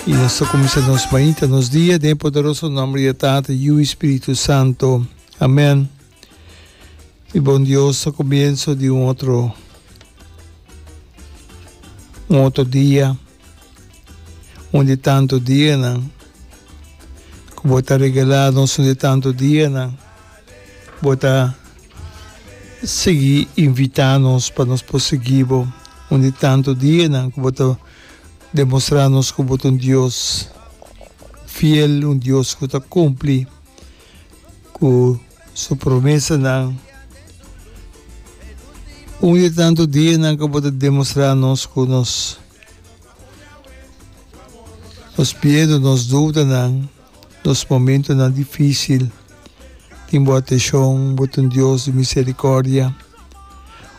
Y nos ta cuminsa nos mainta, nos dia den e poderoso nomber di e Tata, Yu y Spiritu Santo. Amen. Mi bon Dios, ta comienzo di un otro un otro dia, un di tanto dianan cu bo ta regala nos, un di tanto dianan bo ta sigui invita nos pa nos por sigui bo, un di tanto dianan cu bo ta demostra nos cu bo ta un Dios fiel, un Dios cu ta cumpli cu su promesanan. Un di tanto dianan cu bo ta demostra nos cu nos nos miedo, nos dudanan, nos momentonan dificil tin bo atencion, bo ta un Dios di misericordia.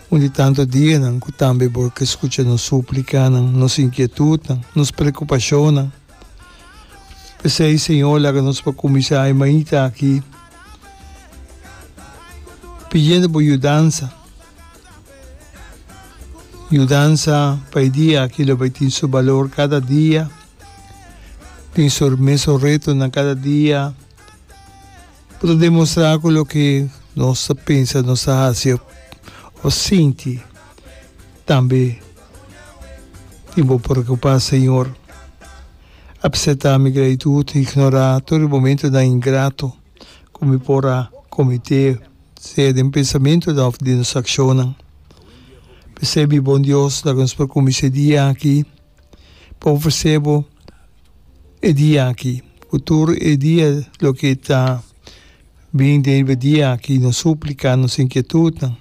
Un di tanto dianan cu tambe bo ke scucha nos suplicanan, nos inquietudnan, nos preocupacionnan. P'esei, Señor, laga nos por kuminsá e mainta aki pidiendo bo yudansa. Yudansa pa e dia aki lo bai tin su balor kada dia, tin su mesun retonan kada dia. Bo ta demostrá ku loke nos ta pensa, nos ta hasi òf sinti tambe tin bo preokupá, Señor. Apseptá mi gratitut i ignorá tur e momentunan ingrato ku mi por a kometé, sea den pensamentunan òf den nos akshonnan. P'esei, mi bon Dios, laga nos por kuminsá e dia aki pa ofresé bo e dia aki, ku tur e dia loke ta bin den riba e dia aki, nos súplika, nos inkietutnan.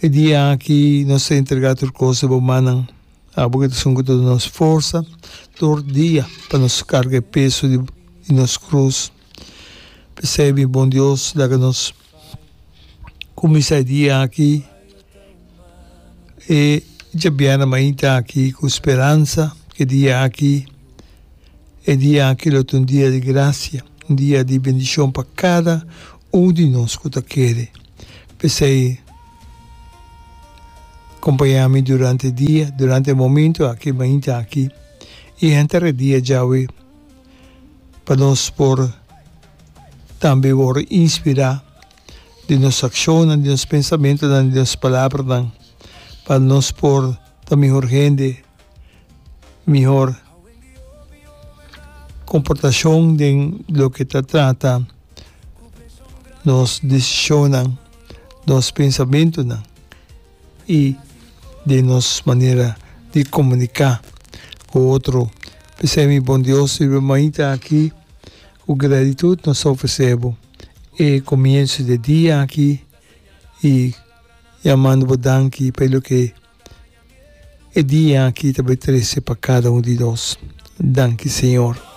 E dia aki nos ta entregá tur kos den bo mannan. Abo ku ta esun ku ta duna nos forsa tur dia pa nos karga e peso di nos krus. P'esei, mi bon Dios, laga nos kuminsá e dia aki. E djabièrnè mainta aki ku speransa ku e dia aki, e dia aki lo ta un dia di grasia, un dia di bendishon pa kada un di nos ku ta kere. P'esei kompañá mi durante e dia, durante e momento aki, mainta aki i henter e dia djawe pa nos por tambe wòrdu inspirá. di nos akshonnan, di nos pensamentunan, di nos palabranan, pa nos por ta mihor hende, mihor komportashon den loke ta trata nos desishonnan, nos pensamentunan i den nos manera di komuniká ku otro. P'esei mi bon Dios, riba mainta aki ku gratitut nos ta ofresé bo. E comienzo di e dia aki y yamando bo danki pa e loke e dia aki ta bay trece pa cada un di nos. Danki Señor.